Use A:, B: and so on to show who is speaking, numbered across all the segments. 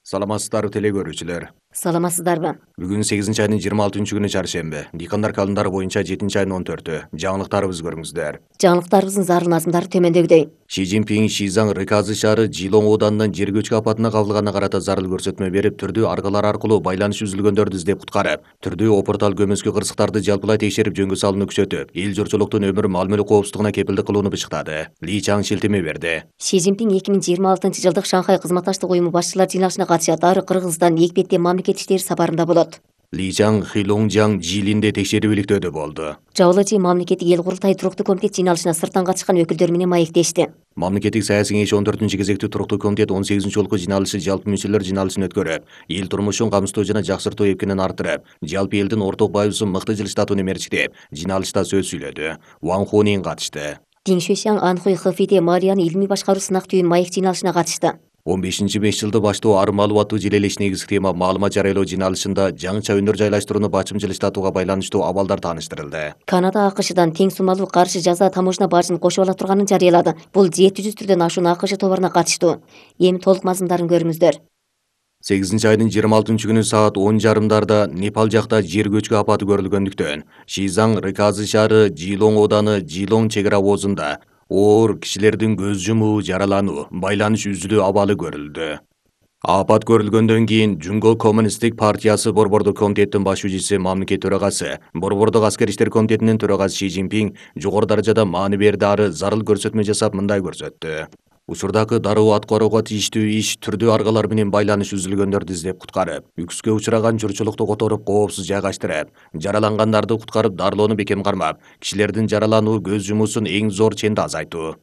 A: Саламатсыздарбы теле көрүүчүлөр.
B: Саламатсыздарбы?
A: Бүгүн 8-айдын 26-күнү чаршемби. Дыйкандар календары боюнча 7-айдын 14-ү. Жаңылыктарыбызды көрүңүздөр.
B: Жаңылыктарыбыздын зарыл назмдары төмөндөгүдөй.
A: Ши Цзиньпин Шизаң Рыказы шаары Жилон ооданынан жер көчкү апатына кабылганына карата зарыл көрсөтмө берип, түрдүү аргалар аркылуу байланыш үзүлгөндөрдү издеп куткарып, түрдүү опуртал көмөскө кырсыктарды жалпылай текшерип жөнгө салууну күчөтүп, эл журтчулуктун өмүр маал-мүлк коопсуздугуна кепилдик кылууну бышыктады. Ли Чаң шилтеме берди.
B: Ши Цзиньпин 2026-жылдык Шанхай кызматташтык уюму башчылар жыйналышына катышат. Ары Кыргызстан экпетте мамлекет иштери сапарында болот.
A: Ли Чаң Хилоңжаң Жилинде текшерүү иликтөөдө болду.
B: Жабылычы мамлекеттик эл курултай туруктуу комитет жыйналышына сырттан катышкан өкүлдөр менен маектешти.
A: Мамлекеттик саясий кеңеш 14-кезектүү туруктуу комитет 18-жолку жыйналышы жалпы мүчөлөр жыйналышын өткөрүп, эл турмушун камсыздоо жана жакшыртуу эпкенин арттырып, жалпы элдин орток байыбызын мыкты жылыштатууну эмерчиктеп, жыйналышта сөз сүйлөдү. Ван Хунин катышты.
B: Дин Шуйшаң Анхуй Хэфиде Мариянын илмий башкаруу сынак түйүн маек жыйналышына катышты.
A: 15-5 баштоо ары маалыматтуу желелеш негизги тема маалымат жарыялоо жыйналышында жаңыча өнөр жайлаштырууну бачым жылыштатууга байланыштуу абалдар тааныштырылды.
B: Канада АКШдан тең суммалуу каршы жаза таможня бажын кошуп ала турганын жарыялады. Бул 700 түрдөн ашуун АКШ товаруна катыштуу. Эми толук мазмундарын көрүңүздөр.
A: 8-айдын 26-күнү саат 10:30 Непал жакта жер көчкү апаты көрүлгөндүктөн, Шизаң Рыказы шаары Жилон ооданы Жилон чек ара обозунда оор кишилердин көз жумуу, жаралануу, байланыш үзүлүү абалы көрүлдү. Апат көрүлгөндөн кийин Жунго Коммунисттик партиясы борбордук комитеттин башчысы мамлекет төрагасы, борбордук аскер иштер комитетинин төрагасы Ши Цзиньпин жогору даражада маани берди, ары зарыл көрсөтмө жасап мындай көрсөттү. Учурдагы дароо аткарууга тийиштүү иш түрдүү аргалар менен байланыш үзүлгөндөрдү издеп куткарып, үкүскө учураган журтчулукту которуп, коопсуз жайгаштырып, жаралангандарды куткарып, дарылоону бекем кармап, кишилердин жаралануу, көз жумуусун эң зор ченде азайтуу.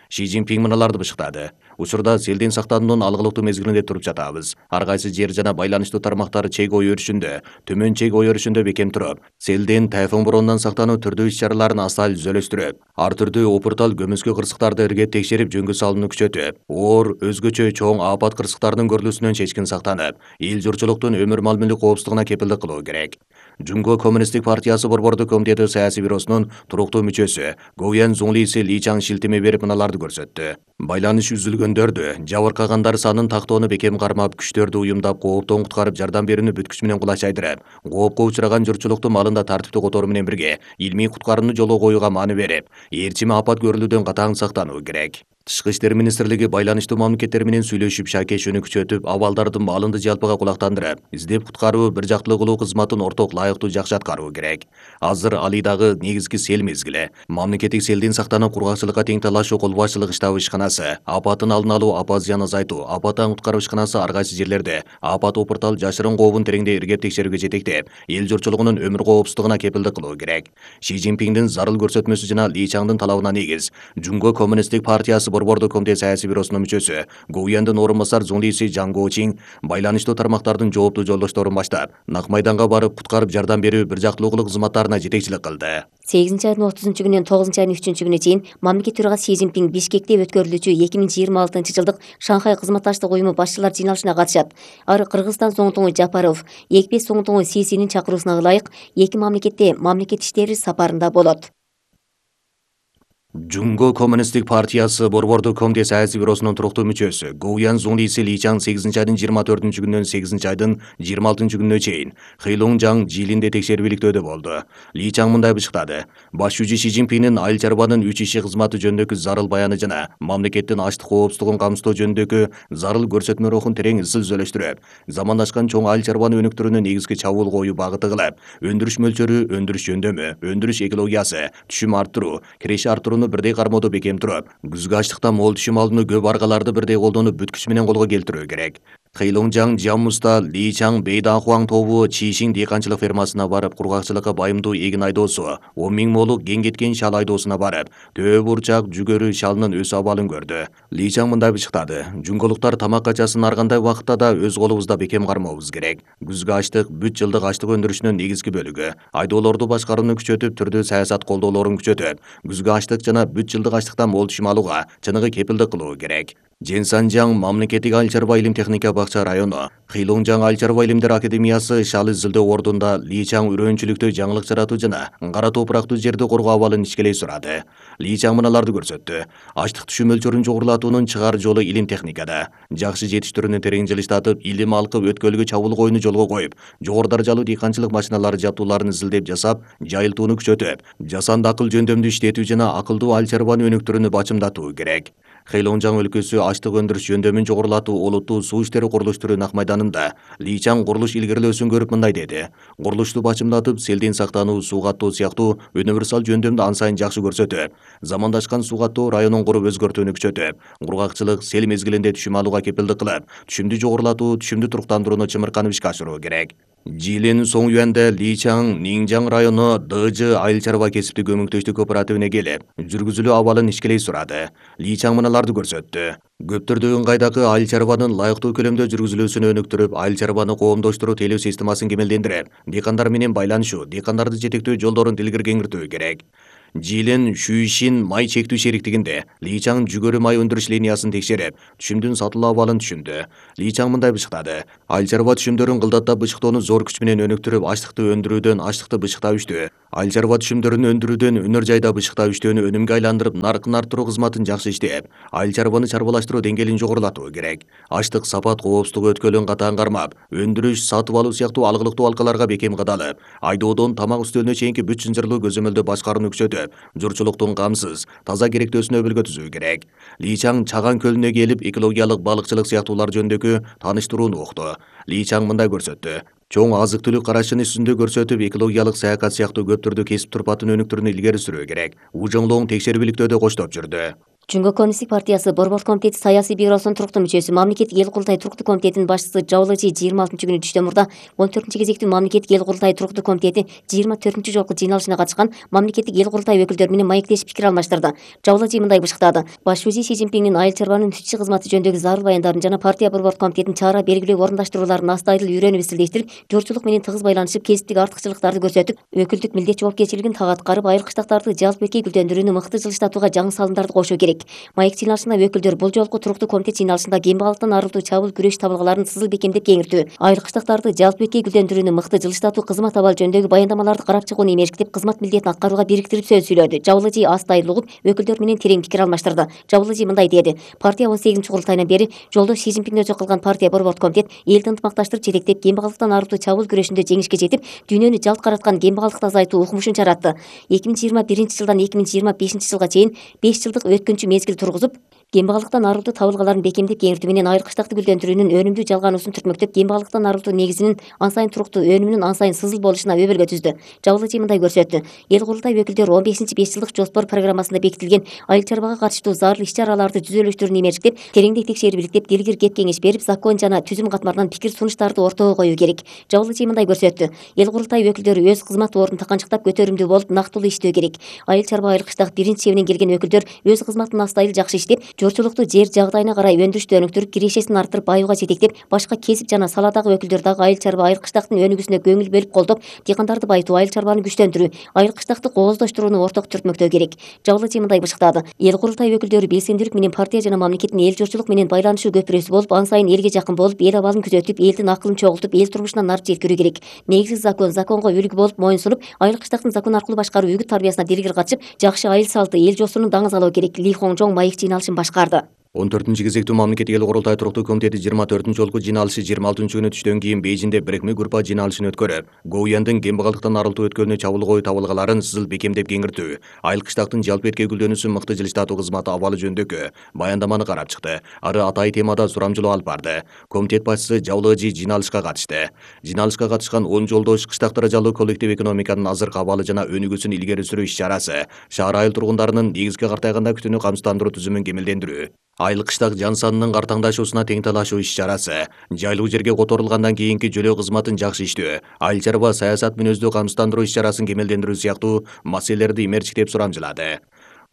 A: Ши Цзиньпин мыналарды бышыктады. Учурда селден сактануунун алгылыктуу мезгилинде туруп жатабыз. Ар кайсы жер жана байланыштуу тармактары чек ой өрүшүндө, төмөн чек ой өрүшүндө бекем туруп, селден, тайфун боронунан сактануу түрдүү иш-чараларын асал үзөлөштүрүп, ар түрдүү опуртал көмөскө кырсыктарды иргеп текшерип жөнгө салууну күчөтүп, оор, өзгөчө чоң апат кырсыктарынын көрүлүүсүнөн чечкин сактанып, эл журтчулуктун өмүр маал-мүлк коопсуздугуна кепилдик кылуу керек. Жунго Коммунисттик партиясы борбордук комитети саясий бюросунун туруктуу мүчөсү Гоуян Зуңлиси Ли Чаң шилтеме берип мыналарды көрсөттү. Байланыш үзүлгөндөрдү, жабыркагандар санын тактоону бекем кармап, күчтөрдү уюмдап, кооптон куткарып, жардам берүүнү бүткүч менен кулачайдырып, коопко учураган журтчулукту маалында тартиптүү которуу менен бирге, илмий куткарууну жолго коюуга маани берип, ээрчими апат көрүлүүдөн катаң сактануу керек. Тышкы иштер министрлиги байланыштуу мамлекеттер менен сүйлөшүп, шакешүүнү күчөтүп, абалдардын маалында жалпыга кулактандырып, издеп куткаруу, бир жактылуу кылуу кызматын орток лайыктуу жакшы аткаруу керек. Азыр Алидагы негизги сел мезгили. Мамлекеттик селден сактанып, кургакчылыкка тең талашуу кол башчылык штабы ишканасы, апатын алдын алуу, апат зыян азайтуу, апаттан куткаруу ишканасы ар кайсы жерлерде апат опуртал жашырын кообун тереңдей иргеп текшерүүгө жетектеп, эл журтчулугунун өмүр коопсуздугуна кепилдик кылуу керек. Ши Цзиньпиндин зарыл көрсөтмөсү жана Ли Чаңдын талабына негиз Жунго Коммунисттик партиясы борбордук комитет саясий бюросунун мүчөсү Гоуяндын орун басар Зуңлиси Жаң Гоучин байланыштуу тармактардын жооптуу жолдошторун баштап, нак майданга барып, куткарып жардам берүү, бир жактылуу кылуу кызматтарына жетекчилик кылды.
B: 8-айдын 30-күнүнөн 9-айдын 3-күнүнө чейин мамлекет төрагасы Ши Цзиньпин Бишкекте өткөрүлүүчү 2026-жылдык Шанхай кызматташтык уюму башчылар жыйналышына катышат. Ары Кыргызстан соңунтуңу Жапаров, Экпе соңунтуңу Сисинин чакыруусуна ылайык эки мамлекетте мамлекет иштери сапарында болот.
A: Жунго Коммунисттик партиясы борбордук комитет саясий бюросунун туруктуу мүчөсү Гоуян Зуңлиси Ли Чаң 8-айдын 24-күнүнөн 8-айдын 26-күнүнө чейин Хилоңжаң Жилинде текшерүү иликтөөдө болду. Ли Чаң мындай бышыктады. Башчы Ши Цзиньпиндин айыл чарбанын 3 иши кызматы жөнүндөгү зарыл баяны жана мамлекеттин аштык коопсуздугун камсыздоо жөнүндөгү зарыл көрсөтмө рухун терең ысыл үзөлөштүрүп, замандашкан чоң айыл чарбаны өнүктүрүүнү негизги чабуул коюу багыты кылып, өндүрүш мөлчөрү, өндүрүш жөндөмү, өндүрүш экологиясы, түшүм арттыруу, киреше арттырууну бирдей кармоодо бекем туруп, күзгү ачлыктан мол түшүм алууну көп аргаларды бирдей колдонуп, бүткүч менен колго келтирүү керек. Хилоңжаң Жаммуста Ли Чаң Бейданхуаң тобу Чишиң дыйканчылык фермасына барып, кургакчылыкка байымдуу эгин айдоосу, 10 000 молук кен кеткен шал айдоосуна барып, төө бурчак, жүгөрү шалынын өсүү абалын көрдү. Ли Чаң мындай бышыктады. Жунголуктар тамак качасын ар кандай убакытта да өз колубузда бекем кармообуз керек. Күзгү ачлык бүт жылдык ачлык өндүрүшүнүн негизги бөлүгү. Айдоолорду башкарууну күчөтүп, түрдүү саясат колдоолорун күчөтүп, күзгү ачлык жана бүт жылдык ачлыктан мол түшүм алууга чыныгы кепилдик кылуу керек. Женсанжаң мамлекеттик айыл чарба илим техника бакча району, Хилоңжаң айыл чарба илимдер академиясы шал изилдөө ордунда Личаң үрөөнчүлүктө жаңылык жаратуу жана кара топурактуу жерди коргоо абалын ичкелей сурады. Личаң мыналарды көрсөттү. Ачлык түшүм мөлчөрүн жогорулатуунун чыгаар жолу илим техникада. Жакшы жетиштирүүнү терең жылыштатып, илим алкып өткөлгө чабуулук оюну жолго коюп, жогору даражалуу дыйканчылык машиналары жабдууларын изилдеп жасап, жайылтууну күчөтүп, жасанды акыл жөндөмдү иштетүү жана акылдуу айыл чарбаны өнүктүрүүнү бачымдатуу керек. Хейлоңжаң өлкөсү ачлык өндүрүш жөндөмүн жогорулатуу улуттуу суу иштери курулуштуруу ак майданында Личаң курулуш илгерилөөсүн көрүп мындай деди. Курулушту бачымдатып, селден сактануу, суу каттоо сыяктуу универсал жөндөмдү ан сайын жакшы көрсөтүп, замандашкан суу каттоо районун куруп өзгөртүүнү күчөтүп, кургакчылык, сел мезгилинде түшүм алууга кепилдик кылып, түшүмдү жогорулатуу, түшүмдү туруктандырууну чымырканып ишке ашыруу керек. Жылдын соң үйәндө Личаң Ниңжаң району ДЖ айыл чарба кесиптик көмөктөштүк кооперативине келип, жүргүзүлүү абалын ишкелей сурады. Личаң мыналарды көрсөттү. Көптөрдөгүн кайдагы айыл чарбанын ылайыктуу көлөмдө жүргүзүлүүсүн өнүктүрүп, айыл чарбаны коомдоштуруу тейлөө системасын кемелдендирип, дыйкандар менен байланышуу, дыйкандарды жетектөө жолдорун тилгер кеңиртүү керек. Жылын Шүйшин май чектүү шериктигинде Личаң жүгөрү май өндүрүш линиясын текшерип, түшүмдүн сатылуу абалын түшүндү. Личаң мындай бышыктады. Айыл чарба түшүмдөрүн кылдаттап бышыктоону зор күч менен өнүктүрүп, ачлыкты өндүрүүдөн ачлыкты бышыктап иштөө, айыл чарба түшүмдөрүн өндүрүүдөн өнөр жайда бышыктап иштөөнү өнүмгө айландырып, наркын арттыруу кызматын жакшы иштеп, айыл чарбаны чарбалаштыруу деңгээлин жогорулатуу керек. Ачлык, сапат, коопсуздук өткөлүн катаан кармап, өндүрүш, сатып алуу сыяктуу алгылыктуу алкаларга бекем кадалып, айдоодон тамак үстөлүнө чейинки бүт чынжырлуу көзөмөлдө башкарууну күчөтүп, журчулуктун камсыз, таза керектөөсүн өбөлгө түзүү керек. Личаң Чаган көлүнө келип, экологиялык балыкчылык сыяктуулар жөнүндөгү таныштырууну укту. Личаң мындай көрсөттү. Чоң азык түлүк карашын үстүндө көрсөтүп, экологиялык саякат сыяктуу көп түрдүү кесип турпатын өнүктүрүүнү илгери сүрүү керек. Ужоңлоң текшерүүлүктөө коштоп жүрдү.
B: Жумгө коммунисттик партиясы Борбор комитети саясий бюросунун туруктуу мүчөсү, мамлекеттик эл курултай туруктуу комитетинин башчысы Жабылыжы 26-күнү түштөн мурда 14-кезектүү мамлекеттик эл курултай туруктуу комитети 24 жолку жыйналышына катышкан мамлекеттик эл курултай өкүлдөрү менен маектешип пикир алмаштырды. Жабылыжы мындай бышыктады. Баш узи Си Цзиньпиндин айыл чарбанын түтчү кызматы жөнүндөгү зарыл баяндарын жана партия Борбор комитетинин чара белгилөө орундаштырууларын настайдыл үйрөнүп изилдештирип, журчулук менен тыгыз байланышып, кесиптик артыкчылыктарды көрсөтүп, өкүлдүк милдет жоопкерчилигин так аткарып, айыл кыштактарды жалпы эки гүлдөндүрүүнү мыкты жылыштатууга жаңы салымдарды кошуу керек. Маек өкүлдөр бул жолку туруктуу комитет жыйналышында кембагалыктан арылтуу чабуул күрөш табылгаларын сызыл бекемдеп кеңиртүү, айыл кыштактарды жалпы эки гүлдөндүрүүнү мыкты жылыштатуу, кызмат абалы жөнүндөгү баяндамаларды карап чыгууну эмешкитип, кызмат милдетин аткарууга бириктирип сөз сүйлөдү. Жабылыжы астайыл угуп, өкүлдөр менен терең пикир алмаштырды. Жабылыжы мындай деди. Партия 18 курултайынан бери жолдош Си Цзиньпинге өзү кылган партия Борбор комитет элди ынтымакташтырып жетектеп, кембагалыктан арылтуу чабуул күрөшүндө жеңишке жетип, дүйнөнү жалт караткан кембагалыкты азайтуу укмушун жаратты. 2021-жылдан 2025-жылга чейин 5 жылдык өткөнчү мезгил тургузуп, кембагалыктан арылтуу табылгаларын бекемдеп кеңиртүү менен айыл кыштакты гүлдөндүрүүнүн өнүмдүү жалгануусун түртмөктөп, кембагалыктан арылтуу негизинин ан сайын туруктуу, өнүмүнүн ан сайын сызыл болушуна өбөлгө түздү. Жабылыжы мындай көрсөттү. Эл курултай өкүлдөрү 15-5 жылдык жоспор программасында бекитилген айыл чарбага катыштуу зарыл иш-чараларды жүзөлөштүрүүнү эмерчиктеп, тереңдей текшерип иликтеп, дилгир кеп кеңеш берип, закон жана түзүм катмарынан пикир сунуштарды ортого коюу керек. Жабылыжы мындай көрсөттү. Эл курултай өкүлдөрү өз кызмат ордун таканчыктап көтөрүмдүү болуп, нактылуу иштөө керек. Айыл чарба, айыл кыштак биринчи чебинен келген өкүлдөр өз кызматын астайыл жакшы иштеп, журчулукту жер жагдайына карай өндүрүштү өнүктүрүп, кирешесин арттырып, баюуга жетектеп, башка кесип жана саладагы өкүлдөр дагы айыл чарба, айыл кыштактын өнүгүүсүнө көңүл бөлүп колдоп, дыйкандарды байытуу, айыл чарбаны күчтөндүрүү, айыл кыштакты кооздоштурууну орток түртмөктөө керек. Жабылыжы мындай бышыктады. Эл курултай өкүлдөрү белсендүүлүк менен партия жана мамлекеттин эл журчулук менен байланышуу көпүрөсү болуп, ан сайын элге жакын болуп, эл абалын күзөтүп, элдин акылын чогултуп, эл турмушуна нар жеткирүү керек. Негизги закон, законго үлгү болуп моюн сунуп, айыл кыштактын закон аркылуу башкаруу үгүт тарбиясына дилгир катышып, жакшы айыл салты, эл жоосунун даңазалоо керек. Ли Хоңжоң маек жыйналышын башкарды.
A: 14-кезектүү мамлекеттик эл курултай туруктуу комитети 24 жолку жыйналышы 26-күнү түштөн кийин Бейжиңде бирикме группа жыйналышын өткөрүп, Гоуяндын кембагалыктан арылтуу өткөлүнө чабуул коюу табылгаларын сызыл бекемдеп кеңиртүү, айыл кыштактын жалпы эрке гүлдөнүүсүн мыкты жылыштатуу кызматы абалы жөнүндөгү баяндаманы карап чыкты. Ары атайын темада сурамжылоо алып барды. Комитет башчысы Жабылыжы жыйналышка катышты. Жыйналышка катышкан 10 жолдош кыштак даражалуу коллектив экономиканын азыркы абалы жана өнүгүүсүн илгери сүрүү иш-чарасы, шаар айыл тургундарынын негизги картайганда күтүүнү камсыздандыруу түзүмүн кемелдендирүү, айыл кыштак жан санынын картаңдашуусуна тең талашуу иш-чарасы, жайлуу жерге которулгандан кийинки жөлөө кызматын жакшы иштөө, айыл чарба саясат мүнөздүү камсыздандыруу иш-чарасын кемелдендирүү сыяктуу маселелерди имерчиктеп сурамжылады.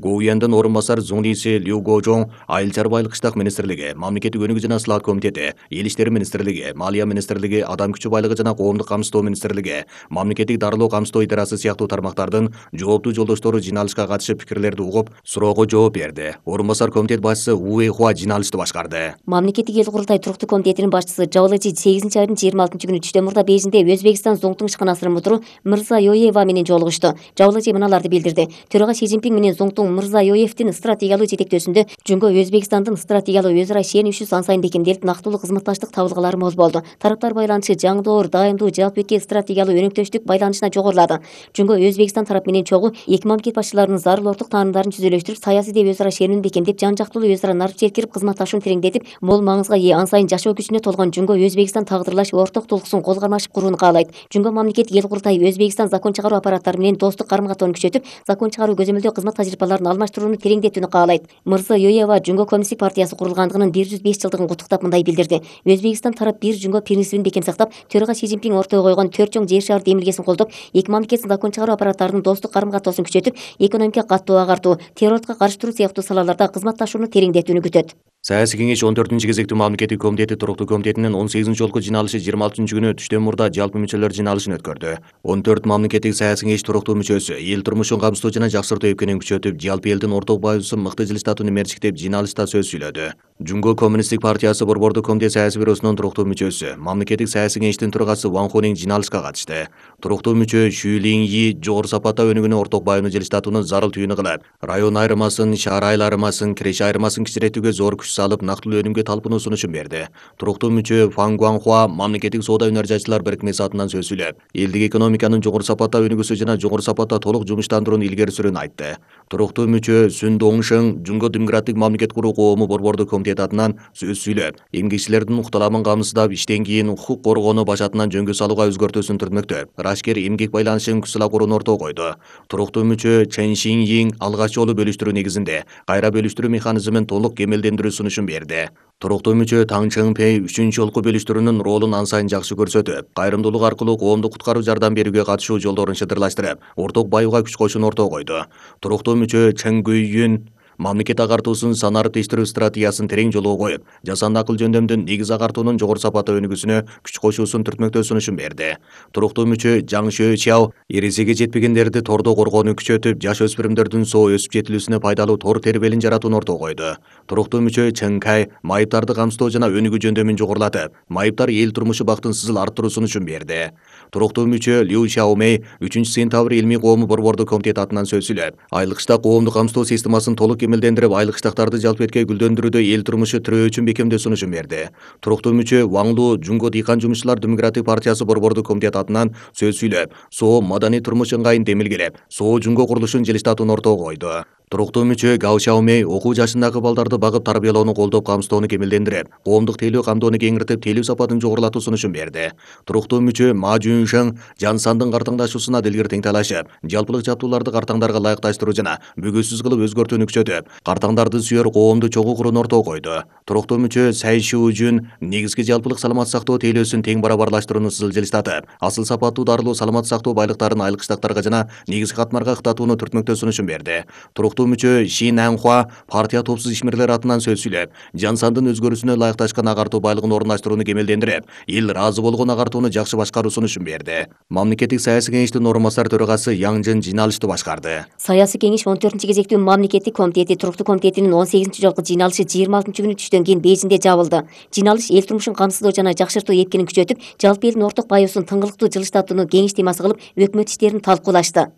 A: Гоуяндын орун басар Зуңлиси Лю Гожоң Айыл чарба айылкыштак министрлиги, Мамлекеттик өнүгүү жана слаат комитети, Эл иштери министрлиги, Малия министрлиги, Адам күчү байлыгы жана коомдук камсыздоо министрлиги, Мамлекеттик дарылоо камсыздоо идарасы сыяктуу тармактардын жооптуу жолдоштору жыйналышка катышып пикирлерди угуп, суроого жооп берди. Орун басар комитет башчысы Уэй Хуа жыйналышты башкарды.
B: Мамлекеттик эл курултай туруктуу комитетинин башчысы Жабылычы 8 айдын 26 күнү түштөн мурда Бейжиңде Өзбекстан зоңтуң ишканасынын мудуру Мырзайоева менен жолугушту. Жабылычы мыналарды билдирди. Төрага Си Цзиньпин менен зоңтуң Мырзайоевдин стратегиялуу жетектөөсүндө Жумго Өзбекстандын стратегиялуу өз ара ишенүүсү сан сайын бекемделип, нактылуу кызматташтык табылгалары моз болду. Тараптар байланышы жаңдоор, дайымдуу, жалпы этке стратегиялуу өнөктөштүк байланышына жогорулады. Жумго Өзбекстан тарап менен чогуу эки мамлекет башчыларынын зарыл орток таанымдарын түзөлөштүрүп, саясий деп өз ара ишенүүнү бекемдеп, жан жактылуу өз ара нарып жеткирип, кызматташууну тереңдетип, мол маңызга ээ, ан сайын жашоо күчүнө толгон Жумго Өзбекстан тагдырлаш орток тулкуусун кол кармашып курууну каалайт. Жумго мамлекеттик эл курултай Өзбекстан закон чыгаруу аппараттары менен достук карым-катоону күчөтүп, закон чыгаруу көзөмөлдөө кызмат тажрыйбаларын алмаштырууну тереңдетүүнү каалайт. Мырзайоева Жумго коммунисттик партиясы курулгандыгынын 105 жылдыгын куттуктап мындай билдирди. Өзбекстан тарап бир Жумго принцибин бекем сактап, төрага Си Цзиньпин ортого койгон 4 чоң жер шаар демилгесин колдоп, эки мамлекеттин закон чыгаруу аппараттарынын достук карым-катоосун күчөтүп, экономика каттоо агартуу, террордука каршы туруу сыяктуу салаларда кызматташууну тереңдетүүнү күтөт.
A: Саясий кеңеш 14-кезектүү мамлекеттик комитети туруктуу комитетинин 18-жолку жыйналышы 26-күнү түштөн мурда жалпы мүчөлөр жыйналышын өткөрдү. 14 мамлекеттик саясий кеңеш туруктуу мүчөсү эл турмушун камсыздоо жана жакшыртуу эпкенин күчөтүп, жалпы элдин орток баайыбызын мыкты жылыштатууну мерчиктеп жыйналышта сөз сүйлөдү. Жумго коммунисттик партиясы борбордук комитет саясий бюросунун туруктуу мүчөсү, мамлекеттик саясий кеңештин төрагасы Ван Хунинг жыйналышка катышты. Туруктуу мүчө Шу Линьи жогору сапатта өнүгүүнү орток бааюуну жылыштатууну зарыл түйүнү кылып, район айырмасын, шаар айырмасын, киреше айырмасын кичиретүүгө зор күч салып, нактылуу өнүмгө талпынуу сунушун берди. Туруктуу мүчө Фан Гуанхуа мамлекеттик соода өнөр жайчылар бирикмеси атынан сөз сүйлөп, элдик экономиканын жогору сапатта өнүгүүсү жана жогору сапатта толук жумуштандырууну илгери сүрүүнү айтты. Туруктуу мүчө Сүн Доңшың Жумго демократик мамлекет куруу коому борбордук комитети атынан сөз сүйлөп, эмгекчилердин укталамын камсыздап, иштен кийин укук коргоону баш атынан жөнгө салууга өзгөртүүсүн түртмөктөп, рашкер эмгек байланышын күчсала курууну ортого койду. Туруктуу мүчө Чен Шинйин алгач жолу бөлүштүрүү негизинде кайра бөлүштүрүү механизмин толук кемелдендирүү сунушун берди. Туруктуу мүчө Таң Чыңпей 3-жолку бөлүштүрүүнүн ролун ан сайын жакшы көрсөтүп, кайрымдуулук аркылуу коомдук куткаруу жардам берүүгө катышуу жолдорун шыдырлаштырып, орток баюуга күч коюшуну ортого койду. Туруктуу мүчө Чен Гүйүн мамлекет агартуусун санарып-тештирүү стратегиясын терең жолго коюп, жасанды акыл жөндөмдүн негиз агартуунун жогору сапатта өнүгүүсүнө күч кошуусун түртмөктөө сунушун берди. Туруктуу мүчө Жаң Шөчяо эрежеге жетпегендерди тордо коргоону күчөтүп, жаш өспүрүмдөрдүн соо өсүп жетилүүсүнө пайдалуу тор тербелин жаратууну ортого койду. Туруктуу мүчө Чен Кай майыптарды камсыздоо жана өнүгүү жөндөмүн жогорулатып, майыптар эл турмушу бактын сызыл арттыруу сунушун берди. Туруктуу мүчө Лю Шаомей 3-сентябрь илмий коому борбордук комитети атынан сөз сүйлөп, айылкычта коомдук камсыздоо системасын толук кемелдендирип, айылкычтактарды жалпы этке гүлдөндүрүүдө эл турмушу тирөөчүн бекемдөө сунушун берди. Туруктуу мүчө Ван Лу Жумго дыйкан жумушчулар демократик партиясы борбордук комитети атынан сөз сүйлөп, соо маданий турмуш ыңгайын демилгелеп, соо Жумго курулушун жылыштатууну ортого койду. Туруктуу мүчө Гао Шаомей окуу жашындагы балдарды багып тарбиялоону колдоп, камсыздоону кемелдендирип, коомдук тейлөө камдоону кеңиртип, тейлөө сапатын жогорулатуу сунушун берди. Туруктуу мүчө Ма Жуншың Жан Сандын картаңдашуусуна дилгир теңтайлашып, жалпылык жаптууларды картаңдарга ылайыкташтыруу жана бүгүсүз кылып өзгөртүүнү күчөтүп, картаңдарды сүйөр коомду чогуу курууну ортого койду. Туруктуу мүчө Сай Шужун негизги жалпылык саламат сактоо тейлөөсүн тең барабарлаштырууну сызыл жылыштатып, асыл сапаттуу дарылуу саламат сактоо байлыктарын айылкычтактарга жана негизги катмарга ыктатууну түртмөктөө сунушун берди. Туруктуу мүчө Ши Нанхуа партия топсуз ишмерлери атынан сөз сүйлөп, Жан Сандын өзгөрүүсүнө ылайыкташкан агартуу байлыгын орундаштырууну кемелдендирип, эл ыраазы болгон агартууну жакшы башкаруу сунушун берди. Мамлекеттик саясий кеңештин орун басар төрагасы Яң Жын жыйналышты башкарды.
B: Саясий кеңеш 14-кезектүү мамлекеттик комитети туруктуу комитетинин 18-жолку жыйналышы 26-күнү түштөн кийин Бейжиңде жабылды. Жыйналыш эл турмушун камсыздоо жана жакшыртуу эпкенин күчөтүп, жалпы элдин орток бааюусун тыңгылыктуу жылыштатууну кеңеш темасы кылып, өкмөт иштерин талкуулашты.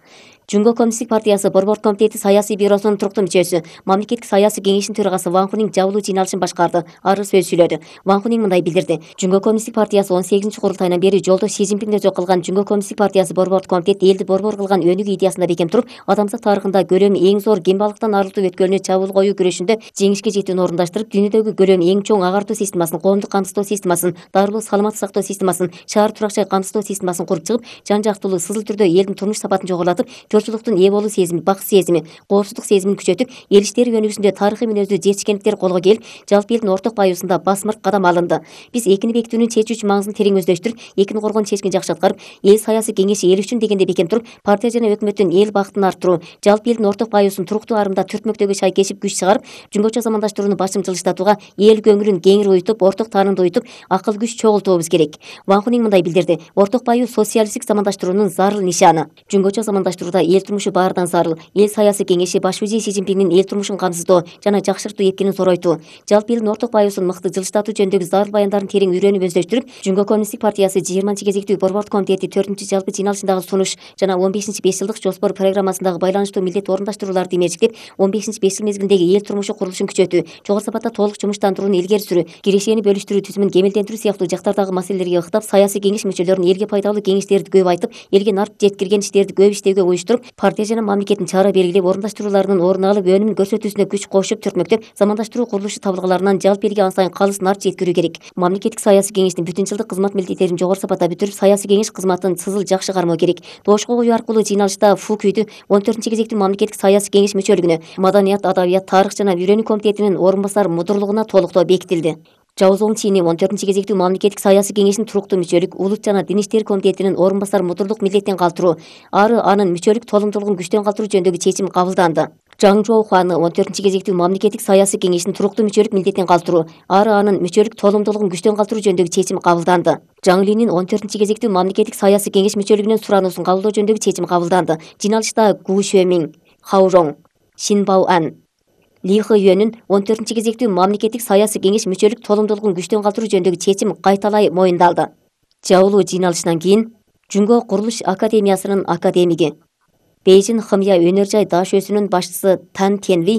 B: Жумго коммунисттик партиясы борбордук комитети саясий бюросунун туруктуу мүчөсү, мамлекеттик саясий кеңештин төрагасы Ван Хунинг жабылуу жыйналышын башкарды. Ары сөз сүйлөдү. Ван Хунинг мындай билдирди. Жумго коммунисттик партиясы 18-курултайынан бери жолдош Си Цзиньпинге жок кылган Жумго коммунисттик партиясы борбордук комитет элди борбор кылган өнүгүү идеясында бекем туруп, адамзат тарыхында көлөмү эң зор кембалыктан арылтуу өткөлүнө чабуул коюу күрөшүндө жеңишке жетүүнү орундаштырып, дүйнөдөгү көлөмү эң чоң агартуу системасын, коомдук камсыздоо системасын, дарылуу саламат сактоо системасын, шаар турак жай камсыздоо системасын куруп чыгып, жан жактылуу сызыл түрдө элдин турмуш сапатын жогорулатып, журчулуктун ээ болуу сезими, бакыт сезими, коопсуздук сезимин күчөтүп, эл иштери жөнүгүсүндө тарыхый мүнөздүү жетишкендиктер колго келип, жалпы элдин орток баюусунда басмырк кадам алынды. Биз экини бекитүүнүн чечүүчү маңызын терең өздөштүрүп, экини коргоонун чечкин жакшы аткарып, эл саясий кеңеши эл үчүн дегенде бекем туруп, партия жана өкмөттүн эл бактын арттыруу, жалпы элдин орток баюусун туруктуу арымда түртмөктөөгө шай кешип күч чыгарып, жумгоча замандаштырууну башым жылыштатууга, эл көңүлүн кеңири уютуп, орток таанымды уютуп, акыл күч чогултуубуз керек. Ван Хунин мындай билдирди: орток баюу социалисттик замандаштыруунун зарыл нишаны. Жумгоча замандаштырууда эл турмушу баарынан зарыл. Эл саясий кеңеши баш мужей Си Цзиньпиндин эл турмушун камсыздоо жана жакшыртуу эркинин соройтуу, жалпы элдин орток баюусун мыкты жылыштатуу жөнүндөгү зарыл баяндарын терең үйрөнүп өздөштүрүп, Жумго коммунисттик партиясы 20-кезектүү борбордук комитети 4-жалпы жыйналышындагы сунуш жана 15-5 жылдык жоспор программасындагы байланыштуу милдет орундаштырууларды имечектеп, 15-5 жыл мезгилиндеги эл турмушу курулушун күчөтүү, жогору сапатта толук жумуштандырууну илгери сүрүү, кирешени бөлүштүрүү түзүмүн кемелдендирүү сыяктуу жактардагы маселелерге ыктап, саясий кеңеш мүчөлөрүн элге пайдалуу кеңештерди көп айтып, элге нарт жеткирген иштерди көп иштөөгө уюштуруп, партия жана мамлекеттин чара белгилеп, орундаштырууларынын орун алып, өнүмүн көрсөтүүсүнө күч кошуп, түртмөктөп, замандаштыруу курулушу табылгаларынан жалпы элге ан сайын калыс нарт жеткирүү керек. Мамлекеттик саясий кеңештин бүтүн жылдык кызмат милдеттерин жогору сапатта бүтүрүп, саясий кеңеш кызматын сызыл жакшы кармоо керек. Добушка коюу аркылуу жыйналышта Фу Күйдү 14-кезектүү мамлекеттик саясий кеңеш мүчөлүгүнө, маданият, адабият, тарых жана үйрөнүү комитетинин орун басар мудурлугуна толуктоо бекитилди. Чао Цзончини 14-кезектүү мамлекеттик саясий кеңештин туруктуу мүчөлүк, улут жана дин иштери комитетинин орун басар мудурлук милдеттен калтыруу, ары анын мүчөлүк толумдуулугун күчтөн калтыруу жөнүндөгү чечим кабылданды. Жаң Жоуханы 14-кезектүү мамлекеттик саясий кеңештин туруктуу мүчөлүк милдеттен калтыруу, ары анын мүчөлүк толумдуулугун күчтөн калтыруу жөнүндөгү чечим кабылданды. Жаң Линин 14-кезектүү мамлекеттик саясий кеңеш мүчөлүгүнүн сураныусун кабылдоо жөнүндөгү чечим кабылданды. Жыйналышта Гу Шөмиң, Хау Жоң, Шин Бао Ан, Ли Хэ Юэнин 14-кезектүү мамлекеттик саясий кеңеш мүчөлүк толумдуулугун күчтөн калтыруу жөнүндөгү чечим кайталай моюндалды. Жаулуу жыйналышынан кийин Жумго курулуш академиясынын академиги, Бейжин Хымя өнөр жай даш өсүнүн башчысы Тан Тенви